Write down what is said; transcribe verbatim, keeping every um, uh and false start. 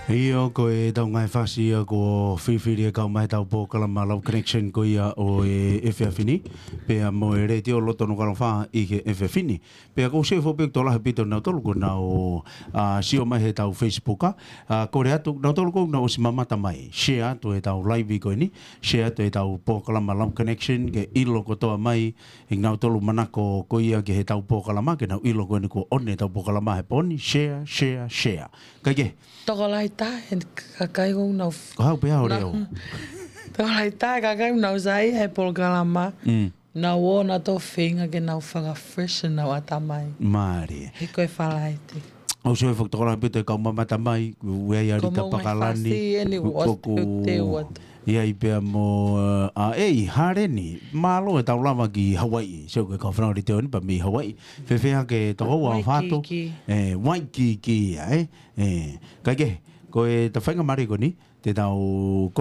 ʻIo, ko e tau ngaahi fasi ia ko e fifili e kau mai he tau polokalama Love Connection ko ia ʻo e efiafi ni, pea mo e letiō loto no kalofa ʻi he efiafi ni. Pea ʻoku ou sio foki pē ʻoku tokolahi ʻaupito nautolu ʻoku nau, ā, sio mai he tau Facebook, ā, kole atu, nautolu ʻoku nau ʻosi mamata mai. Share atu e tau live ko eni, share atu e tau polokalama Love Connection, ke ʻilo kotoa mai, ʻe nautolu manako ko ia ki he tau polokalama, ke nau ʻilo ko eni kuo ʻosi e tau polokalama he pō ni, share, share, share. Kae kehe. Tokolahi taha e kakai ʻoku nau f- Ko hau pē au leo. Tokolahi taha e kakai ʻoku nau saiʻia he polokalama. Mm. Nau ō nautolu feinga ke nau faka-fresh ʻenau ʻatamai. Mālie. He ko e Falaite. ʻOku ou sio foki tokolahi ʻaupito e kau mamata mai, ʻoku ʻi ai ʻa Rita Pakalani, ʻoku ʻi ai pea mo, ā, ʻei, Haleni, mālō e tau lava ki Hawaiʻi, sio ko e kau fanau letiō ni pea mei Hawaiʻi, fēfē hake toko ua Waikiki. Fatu, ē, Waikiki ia, ē, ē, kae kehe, ko e tau faingamālie ko eni, te tau